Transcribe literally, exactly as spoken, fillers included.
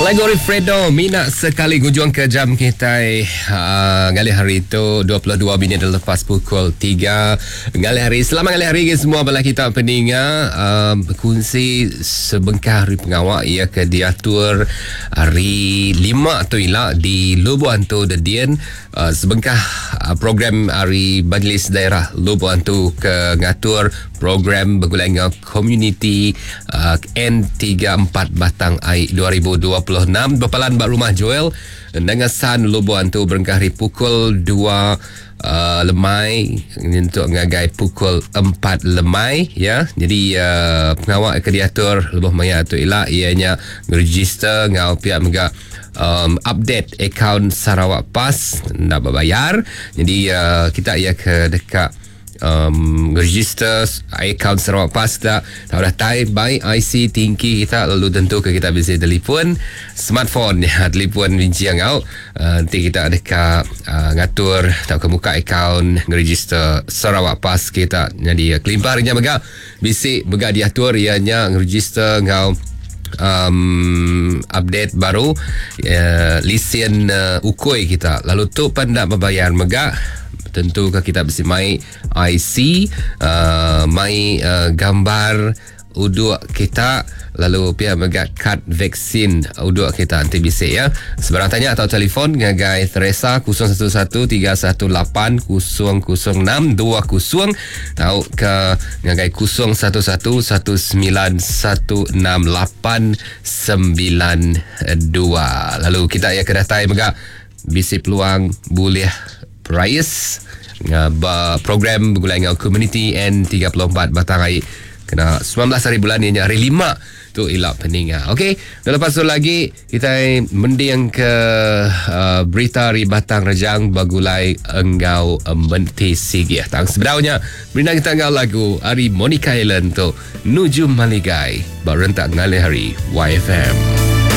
Lagu Fredo Mina Sekali gujung ke jam kita uh, ngalih hari itu dua puluh dua minit lepas pukul tiga ngalih hari. Selamat ngalih hari ke semua bala kita peninga uh, berkongsi sebengkah hari pengawak ia ke diatur hari lima tu ila di Lubuk Antu Dedian uh, sebengkah uh, program hari Majlis Daerah Lubuk Antu ke ngatur program bergulai dengan community uh, N tiga empat Batang Ai dua ribu dua puluh enam berpalan bak rumah Joel Nangasan Lubuk Antu berengkah hari pukul dua uh, lemai untuk ngagai pukul empat lemai ya. Jadi uh, pengawak ke diatur lebuh maya tu ila ianya register ngau pihak mega um, update akaun Sarawak Pass nak berbayar. Jadi uh, kita ia ke dekat Um, register akaun Sarawak Pass kita tahu dah type by I C tinggi kita lalu tentu ke kita bisa telefon smartphone ya telefon bincang kau uh, nanti kita dekat uh, ngatur atau ke muka akaun register Sarawak Pass kita. Jadi uh, kelimpahannya mega bisi mega diatur ianya register ngau um, update baru uh, lisen uh, ukui kita lalu tu pandak berbayar mega tentu ke kita mesti mai I C uh, mai uh, gambar uduk kita lalu pihak mega kad vaksin uduk kita nanti bisa ya. Sebarang tanya atau telefon ngagai Teresa kosong satu satu tiga satu lapan kosong kosong enam dua kosong atau ke ngagai kosong satu satu satu sembilan satu enam lapan sembilan dua. Lalu kita ya ke datai mega bisi peluang boleh prize program bergulai dengan community N tiga puluh empat Batang Ai kena sembilan belas hari bulan ni hari lima tu ilak peninga. Okey, dan lepas tu lagi kita mending ke uh, berita hari Batang Rejang bagulai engau menti sigi. Tang sebenarnya berita kita engau lagu hari Monica Island tu Nujum Maligai barentak ngalih hari Y F M.